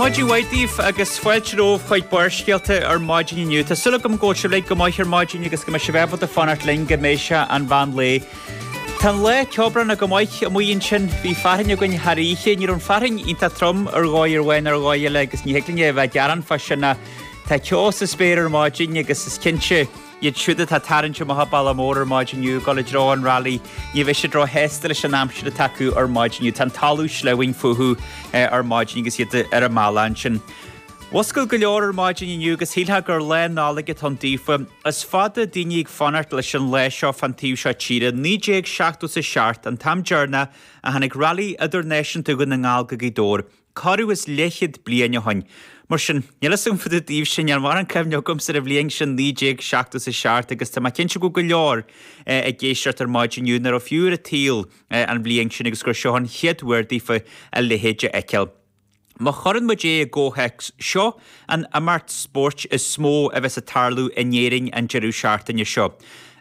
Maidin mhaith daoibh agus fáilte romhaibh chuig Barrscéalta ar maidin inniu. Tá súil agam go bhfuil sibh uilig go maith ar maidin agus go mbeidh sibh ábalta fanacht linn go mbeidh sé an mheán lae. Tá an lá ceobhránach go maith amuigh ansin. Bhí fearthainn againn thar oíche. Ní raibh an fearthainn iontach trom ar dhóigh ar bháin ar dhóigh eile agus ní thig linn a bheith ag gearán fá sin ach tá ceo sa spéir ar maidin agus is cinnte Iad siúd atá ag tarraingt amach an Bealach Mór ar maidin inniu ag dul i dtreo an Rally, ní bheidh siad róshásta leis an aimsir atá acu ar maidin inniu. Tá an talamh sleamhain fúthu ar maidin agus iad ar an mbealach ansin. Mhuscail go leor ar maidin inniu agus shílfeá gur lá Nollag atá ann daofa. Is fada daoine ag fanacht leis an lá seo fán taobh seo tíre. 1977 an t-am deireanach a tháinig Rally Idirnáisiúnta Dhún na nGall go Gaoth Dobhair. Corradh is leathchéad bliain ó shoin. Mar sin, níl fhios agam fá dtaobh daoibhse, níl mórán cuimhne agamsa ar an bhliain sin 1977 agus tá mé cinnte go bhfuil go leor ag éisteacht ar maidin inniu nach raibh fiú ar an tsaol an bhliain sin agus gur seo an chéad uair daofa a leithéid a fheiceáil. Má chuireann muid é i gcomhthéacs, seo an imeacht spóirt is mó a bheas ag tarlú in Éirinn an deireadh seachtaine seo.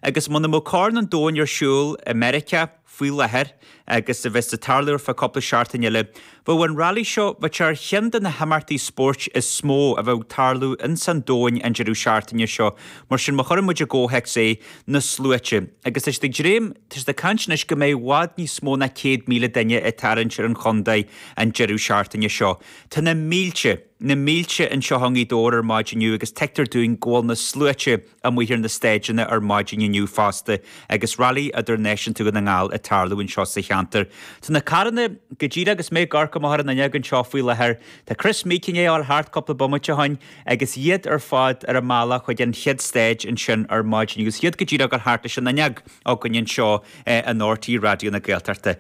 Agus muna mbeadh Corn an Domhain ar siúl i Meiriceá, faoi láthair agus a bheas ag tarlú ar feadh cúpla seachtain eile. Bheadh an Rally seo, bheadh sé ar cheann de na himeachtaí spóirt is mó a bheadh ag tarlú ins an domhain an deireadh seachtaine seo. Mar sin, má chuireann muid i gcomhthéacs é, na sluaite. Agus tá siad ag dréim, tá siad ag caint anois go mbeidh i bhfad níos mó ná 100,000 duine ag tarraingt ar an chontae an deireadh seachtaine seo. Tá na mílte, na mílte anseo i nGaoth Dobhair ar maidin inniu agus tuigtear dúinn go bhfuil na sluaite, amuigh ar na staideanna ar maidin inniu fosta agus Rally Idirnáisiúnta Dhún na nGall ag tarlú anseo sa cheantar. Tá na carranna go díreach agus mé ag amharc amach ar an fhuinneog anseo faoi láthair. Tá Chris Meeke i ndiaidh a ghabháil thart cúpla bomaite ó shoin agus iad ar fad ar a mbealach chuig an chéad stage ansin ar maidin agus iad go díreach ag gabháil thart leis an fhuinneog againn anseo in RTÉ Raidió na Gaeltachta.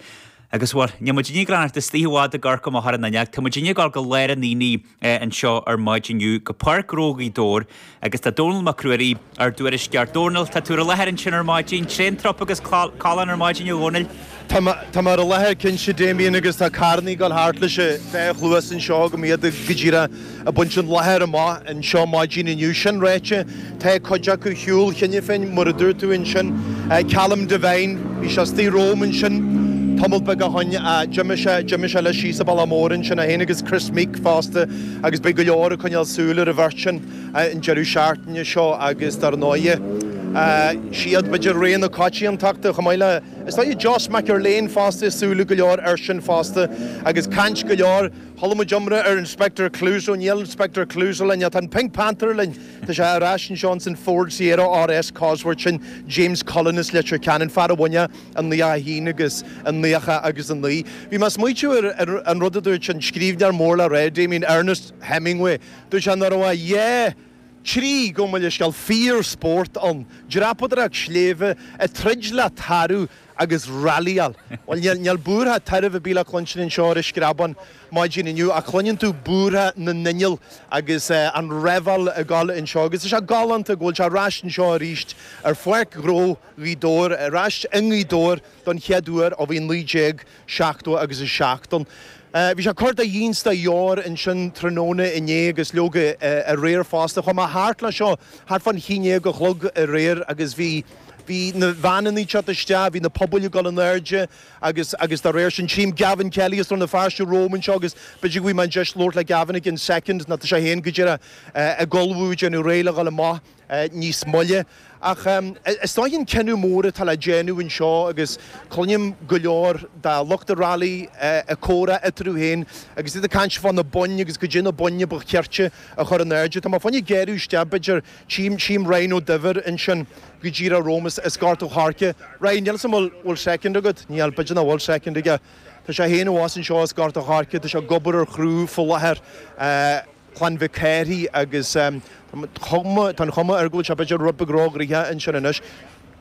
Agus bhuel, níl muid ag fanacht istigh i bhfad ag amharc amach ar an fhuinneog, tá muid ag gabháil go lár an aonaigh anseo ar maidin inniu go Páirc Ghnó Ghaoth Dobhair agus tá Dónall Mac Ruairí, ár dtuairisceoir. Dónall, tá tú ar an láthair ansin ar maidin, tréan trup agus callán ar maidin a Dhónaill. Tá mé ar an láthair cinnte, Damien, agus tá carrannaí ag dul thart leis an dá chluas anseo agam iad go díreach ag baint an láthair amach anseo maidin inniu. Sin ráite, tá cuid acu ar shiúl cheana féin, mar a dúirt tú ansin. Callum Devine, bhí sé istigh romham ansin tamall beag ó shoin, d'imigh sé, d'imigh sé leis síos an bealach mór ansin, é féin agus Chris Meeke fosta agus beidh go leor ag coinneáil súil ar an bheirt sin an deireadh seachtaine seo agus dar ndóighe, siad b'fhéidir rogha na coitiantachta chomh maith le, is dóigh, Josh McErlean fosta, súil ag go leor airsean fosta agus caint go leor. Chuala muid iomrá ar Inspector Clouseau, níl Inspector Clouseau linn, ach tá an Pink Panther linn. Tá sé ar ais anseo ins an Ford Sierra RS Cosworth sin James Cullen as Leitir Ceanainn, fear a bhain i 91 agus i 90 agus 9. Bhí mé ag smaoitiú ar an rud a dúirt an scríbhneoir mór le rá, Damien Ernest Hemingway. Dúirt sé nach raibh ach dhá, trí, gabh mo leithscéal, fíor-spórt ann, dreapadóireacht sléibhe, ag troid le tarbh, agus rallyáil. Bhuel, níl, níl búrtha tairbh ar bith le cluinstin anseo ar an Screabán maidin inniu ach cluineann tú búrtha na n-inneall agus an reváil ag dul anseo agus tá sé galánta go bhfuil sé ar ais anseo arís ar Pháirc Ghnó Ghaoth Dobhair, ar ais i nGaoth Dobhair don chéad uair ó bhí 1970 agus 7 ann. Bhí sé ag cur de dhíon 's de dheor ansin tráthnóna inné agus leoga aréir fosta. Chuaigh mé thart leis seo thart fán haon déag a chlog aréir agus bhí Bhí na veaineanna ag teacht isteach, bhí na pubaill ag dul in airde agus agus dá réir sin, tchím Gavin Kelly as Rann na Feirste romham anseo agus b'fhéidir go bhfaighidh mé an deis labhairt le Gavin i gcionn soicind nó tá sé féin go díreach ag ullmhú, ag déanamh réidh le dhul amach níos moille. Ach is dóigh an cinneadh mór atá le déanamh anseo agus cluinim go leor de lucht an rally ag comhrá eatarthu féin agus iad ag caint fá na boinn agus goidé na boinn a ba chirte a chur in airde. Tá mé fá choinne géarú isteach b'fhéidir Tchím, tchím Ryan Ó Duibhir ansin go díreach romham as Gort an Choirce. Ryan, níl 'fhios a'm bhfuil, bhfuil soicind agat? Níl, b'fhéidir nach bhfuil soicind aige. Tá sé féin abhus anseo as Gort an Choirce, tá sé ag obair ar chriú faoi láthair, Clann Mhic Cárthaigh agus tá chuma, tá an chuma air go bhfuil sé b'fhéidir rud beag róghnoitheach ansin anois.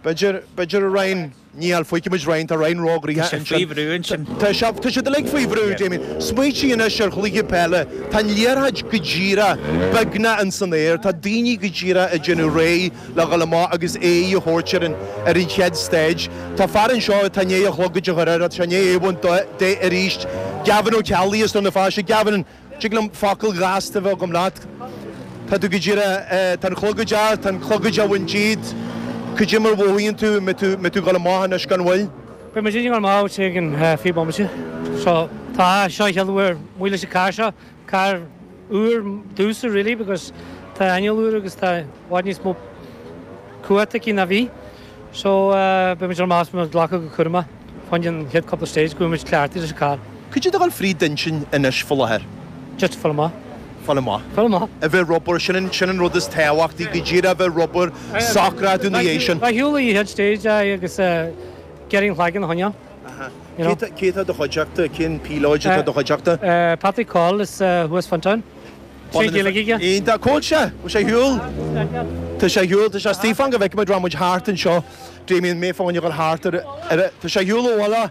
B'fhéidir, b'fhéidir a Ryan. Níl, feicfidh muid Ryan, tá Ryan róghnoitheach Tá sé faoi bhrú ansin. Tá sé, tá siad uilig faoi bhrú, Damien. Smaoitigh anois ar chluiche peile. Tá an liathróid go díreach beagnach ins an aer. Tá daoine go díreach ag déanamh réidh le dhul amach agus aghaidh a thabhairt ar an, ar an chéad stage. Tá fear anseo atá i ndiaidh a chlogaid a chur air, tá sé i ndiaidh é a bhaint de arís. Gavin Ó Ceallaigh as Rann na Feirste. Gavin, Tig liom focal gasta a bheith agam leat. Tá tú go díreach, tá an clogad ort, tá an clogad á bhaint díot. Cad é mar a mhothaíonn tú, an mbeidh tú, mbeidh tú ag dul amach anois gan mhoill? Beidh muid ag dul amach i gceann 20 bomaite. So, tá, seo an chéad uair amuigh leis an carr seo, carr. úr domhsa really because tá inneall úr agus tá i bhfad níos mó cumhacht aici ná bhí. So beidh muid ar maith, beidh muid ag glacadh go cúramach fá choinne an chéad cúpla stage go bhfuil muid cleachtaithe leis an carr. Cad é atá ag dul fríd d'intinn anois faoi láthair? Just fáil amach. Fáil amach. Fáil amach. A bheith ramhar, sin an, sin an rud is tábhachtaí, go díreach a bheith ramhar, socrú ina dhiaidh sin. Bheith ar shiúl an chéad stage aye agus iarraidh an cloigeann a choinneáil. You know. Cé atá i do chuideachta? Cén píolóid atá i do chuideachta? Patrick Coll is thuas Fintown. Sé Gaeilge aige. Iontach. Cá bhfuil sé? Bhfuil sé ar shiúl? Tá sé ar shiúl. Tá sé istigh. Fan go bhfeicfidh muid, rachaidh muid thart anseo. Damien, mé fá choinne dhul thart ar, ar, tá sé ar shiúl ó bhaile.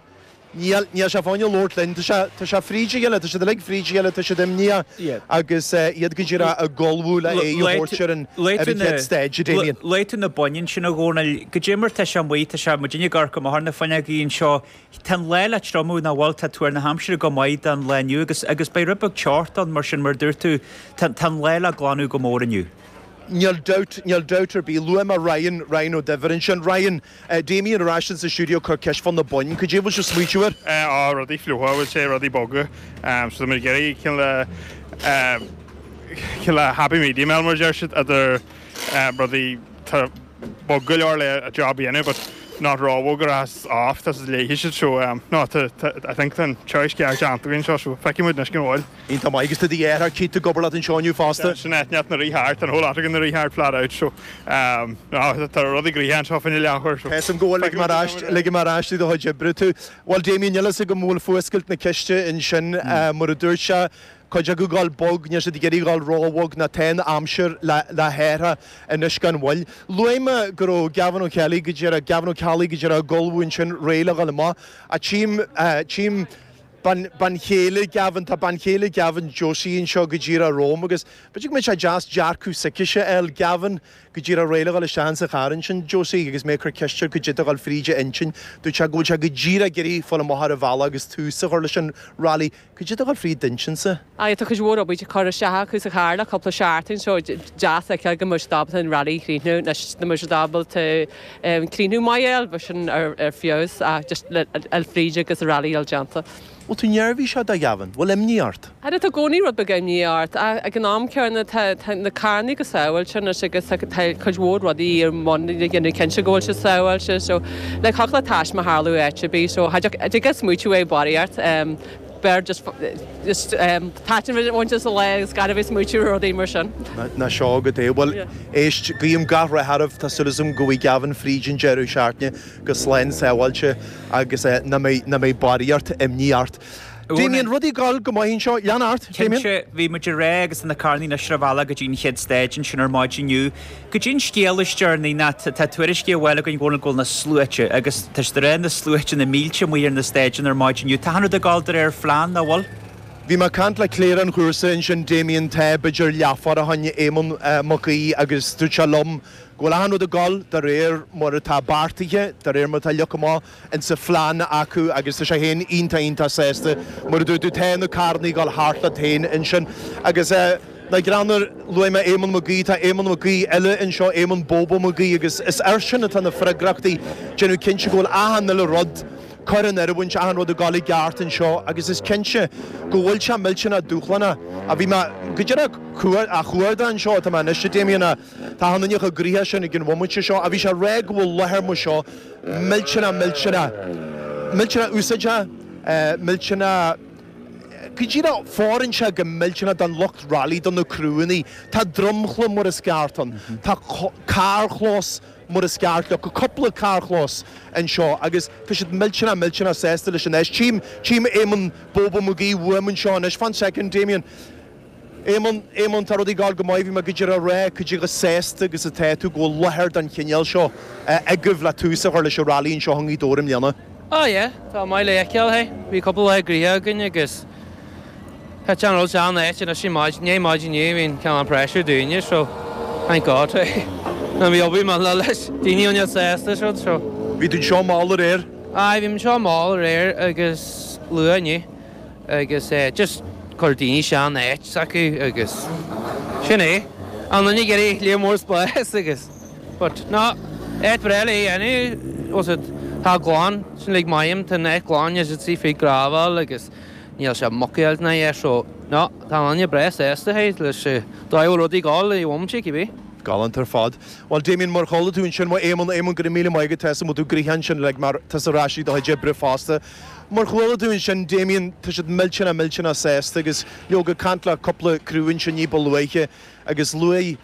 Níl, níl sé fá choinne labhairt linn. Tá sé, tá sé fríd a chéile, tá siad uilig fríd a chéile, tá siad imníoch agus iad go díreach ag ullmhú le aghaidh a thabhairt ar an, ar an chéad stage, a Damien. Luaigh tú na boinn ansin a Dhónaill. Goidé mar tá sé amuigh, tá sé, muidinne ag amharc amach ar na fuinneogaí anseo. Tá an lá le triomú nach bhfuil, tá tuar na haimsire go maith don lá inniu agus, agus beidh rud beag teochta ann mar sin mar a dúirt tú, tá, tá an lá le glanadh go mór inniu. Níl dabht, níl dabht ar bith. Luaigh mé Ryan, Ryan Ó Duibhir ansin. Ryan, Damien ar ais insa stiúideo ag cur ceist fá na boinn. Cad é a bhfuil sibh smaoitiú air? Á, rudaí fliucha, bhfuil sé, rudaí boga. So tá muid ag iarraidh cineál cineál happy medium a fháil mar a deir siad, idir rudaí tá bog go leor le a job a dhéanamh but not róbhog a rachas off, tá siad léifidh siad so no tá I think tá an choice ceart déanta againn anseo so feicfidh muid anois cén bhfuil. Iontach maith agus tá do dheartháir Keith ag obair leat anseo inniu fosta. Sin é, neart na rith thart, an whole lot againn na rith thart flat out so no tá rudaí gnoitheach anseo fá choinne leathuair so. Tá 'fhios a'm go bhfuil, ligfidh mé ar ais, ligfidh mé ar ais do do chuid oibre tú. Bhuel Damien, níl 'fhios agam an bhfuil fuascailt na ceiste ansin mar a dúirt sé, cuid acu ag dul bog, níl siad ag iarraidh a dhul róbhog ná tá an aimsir le le hathrú anois gan mhoill. Luaigh mé go raibh Gavin Ó Ceallaigh go díreach, Gavin Ó Ceallaigh go díreach ag ullmhú ansin réidh le dhul amach. Ach tchím, tchím, Bean, bean chéile Gavin, tá bean chéile Gavin, Josie, anseo go díreach romham agus b'fhéidir go mbeadh sé deas dearcadh s'aicise a fháil. Gavin go díreach réidh le dhul isteach insa charr ansin, Josie, agus mé ag cur ceist air cad é atá ag dul fríd a intinn. Dúirt sé go bhfuil sé go díreach ag iarraidh fáil amach ar an bhealach agus tús a chur leis an rally. Cad é atá ag dul fríd d'intinnse? Aye, tá cuid mhór obair curtha isteach acu sa charr le cúpla seachtain so deas a fheiceáil go mbeidh siad ábalta an rally a chríochnú anois go mbeidh siad ábalta críochnú maith a fháil, bheadh sin ar feabhas ach just le fháil fríd agus an rally a fháil déanta. Bhfuil tú neirbhíseach do Ghavin? Bhfuil imní ort? Ara tá i gcónaí rud beag imní ort ach ag an am céanna tá na carrannaí go sábháilte anois agus tá cuid mhór rudaí ar bun le déanamh cinnte go bhfuil siad sábháilte so like thiocfadh le taisme tharlú áit ar bith so cha dtig leat smaoitiú ar barraíocht. B'fhearr just just taitneamh a bhaint as an lá agus gan a bheith ag smaoitiú ar rudaí mar sin. Ná seo agat é. Bhuel, éist, guím gach rath oraibh. Tá súil agam go bhfaighidh Gavin fríd an deireadh seachtaine go slán sábháilte agus nach mbeidh, nach mbeidh barraíocht imní ort. Damien, rudaí ag dul go maith anseo. Lean ort, Damien. Cinnte, bhí muid ag rá agus na carrannaí anois ar a bhealach go dtí an chéad stage ansin ar maidin inniu. Goidé an scéal is deireanaí ná tá tuairiscí á bhfáil againn go bhfuil na sluaite, agus tá siad ag rá na sluaite, na mílte amuigh ar na staideanna ar maidin inniu. Tá achan rud ag dul de réir phlean, nach bhfuil? Bhí mé ag caint le cléire an chúrsa ansin, Damien, tá b'fhéidir leathuair ó shin, Éamonn Mac Aoidh, agus dúirt sé liom go bhfuil achan rud ag dul de réir mar atá beartaithe, de réir mar atá leagtha amach. insa phlean acu agus tá sé féin iontach iontach sásta mar a dúirt tú tá na carrannaí ag dul thart leat féin ansin agus ná greann luaigh mé Éamonn Mac Aoidh, tá Éamonn Mac Aoidh eile anseo, Éamonn Bobo Mac Aoidh agus is airsean atá na freagrachtaí déanamh cinnte go bhfuil achan uile rud curtha in oiriúint, achan rud ag dul i gceart anseo agus is cinnte go bhfuil sé millteanach dúshlánach a bhí mé go díreach á chuardach anseo atá mé anois a Damien Tá achan duine chomh gnoitheach sin ag an bhomaite seo ach bhí sé ag rá go bhfuil láthair mar seo millteanach millteanach millteanach úsáideach, millteanach go díreach fóireann sé go millteanach don lucht rally, do na criúnnaí. Tá dromchla mar is ceart ann, tá carrchlós mar is ceart leo, cúpla carrchlós anseo agus tá siad millteanach millteanach sásta leis an áis. Tchím, tchím Éamonn Bobo Mac Aoidh uaim anseo anois. Fan soicind, Damien. Éamonn, Éamonn, tá rudaí ag dul go maith, bhí mé go díreach ag rá cad é chomh sásta agus atá tú go bhfuil láthair den chineál seo agaibh le tús a chur leis an rally anseo i nGaoth Dobhair i mbliana. Ah yeah, tá maith le feiceáil, hey. Bhí cúpla lá gnoitheach againn agus thit an rud seo in áit anois i ndiaidh maidin inniu, bhí an cineál pressure dúinne so thank God, hey. Nó bhí obair maith le leis, daoine iontach sásta is rud so. Bhí tú anseo mall aréir? Aye, bhí mé anseo mall aréir agus luath inniu. agus just chuir daoine isteach in áit s'acu agus sin é. An duine ag iarraidh léar mór spáis agus but no, áit bhreá le dhéanamh was it tá glan, sin like maím, tá an áit glan, níl siad istigh faoi gravel agus níl sé mucáilte ná é so. No, tá an duine breá sásta leis an dóigh a bhfuil rudaí ag gabháil i bhomaite cibé. Galánta ar fad. Bhuel, Damien, mar chuala tú ansin ó Éamonn, Éamonn, go raibh míle maith agat, tá 'fhios a'm go bhfuil tú gnoitheach ansin like mar tá tusa ar ais ag do chuid oibre fosta. Mar chuala tú ansin, Damien, tá siad millteanach, millteanach sásta agus leoga ag caint le cúpla criú ansin ní ba luaithe agus luaigh,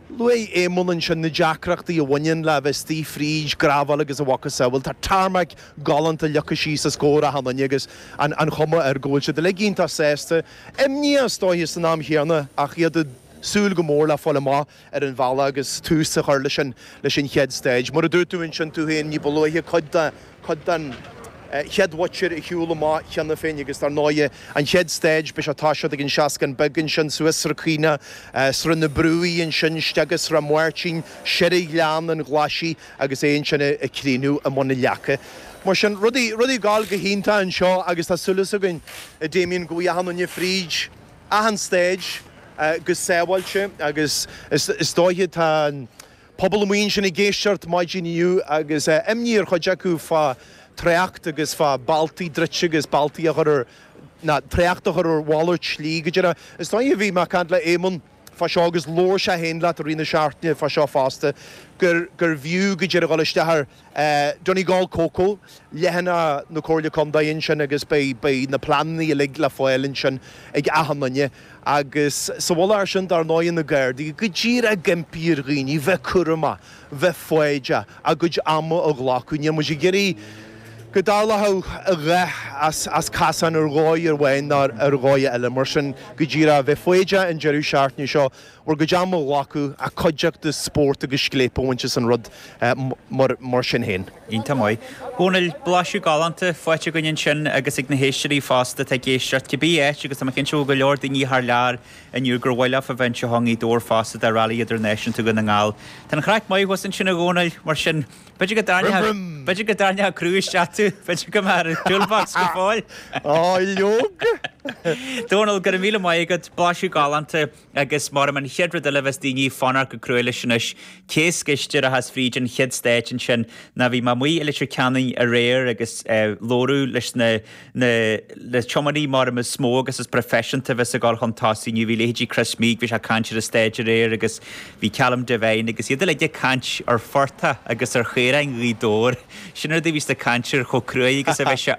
Luaigh Éamonn ansin na deacrachtaí a bhaineann le bheith istigh fríd gravel agus a mhacasamhail. Tá tarmac galánta leagtha síos os comhair achan duine agus an chuma air go bhfuil siad uilig iontach sásta. Imníoch is dóiche san am chéanna ach iad ag súil go mór le fáil amach ar an bhealach agus tús a chur leis an leis an chéad stage. Mar a dúirt tú ansin tú féin ní ba luaithe cuid de cuid den chéad mhuintir ar shiúl amach cheana féin agus dar ndóighe an chéad stage beidh sé ag toiseacht ag an Seascann Beag ansin suas Srath Caonach, Srath na Brúighe ansin isteach go Srath Máirtín, soir Ghleann an Ghlaisigh agus é ansin ag críochnú i mBun na Leaca. Mar sin, rudaí, rudaí ag gabháil go hiontach anseo agus tá súil againn, a Damien, go bhfaighidh achan duine fríd achan stage go sábháilte agus is dóiche tá an Pobal amuigh ansin ag éisteacht maidin inniu agus imní ar chuid acu fá trácht agus fá bealtaí druidte agus bealtaí a chur ar, ná trácht a chur ar mhalairt slí go díreach. Is dóigh bhí mé ag caint le Éamonn fá seo agus labhair sé féin leat i rith na seachtaine fá seo fosta gur gurbh fhiú go díreach dul isteach ar Donegal Coco, leathanach na Comhairle Contae ansin agus beidh beidh na pleananna uilig le fáil ansin ag achan duine. Agus sa mhullach air sin, dar ndóigh, na Gardaí go díreach ag impí ar dhaoine bheith cúramach, bheith foighdeach, a gcuid ama a ghlacadh. Níl muid ag iarraidh go dtarlódh a dhath as casán ar dhóigh amháin ná ar dhóigh eile. Mar sin, go díreach, bheith foighdeach an deireadh seachtaine seo, bhur gcuid ama a ghlacadh, ach cuideachta, spórt agus scléip a bhaint as an rud mar sin féin. Iontach maith. Dhónaill, blaiseadh galánta faighte againn ansin agus ag na héisteoirí fosta atá ag éisteacht, cibé áit agus tá mé cinnte go bhfuil go leor daoine thar lear inniu gur mhaith leofa bheith anseo i nGaoth Dobhair fosta do Rally Idirnáisiúnta Dhún na nGall. Tá an chraic maith thuas ansin a Dhónaill, mar sin b'fhéidir go dtarraingeodh, b'fhéidir go dtarraingeodh criú isteach tú, b'fhéidir go mbeadh ar an toolbox go fóill. Á, leoga! Dónal, go raibh míle maith agat, blaiseadh galánta. Agus mar an chéad rud eile a bheas daoine ag fanacht go crua leis anois, cé is gaiste a rachas fríd an chéad stage ansin ná bhí mé amuigh i Leitir Ceanainn aréir agus labhradh leis na na na tiománaí mar is mó agus is proifisiúnta a bheas ag dul chun tosaigh inniu. Bhí leithéidí Chris Meeke, bhí sé ag caint ar an stage aréir agus bhí Callum Devine agus iad uilig ag caint ar phortach agus ar chaoráin Ghaoth Dobhair. Sin rud a bhí siad ag caint ar chomh cruaidh agus a bheidh sé.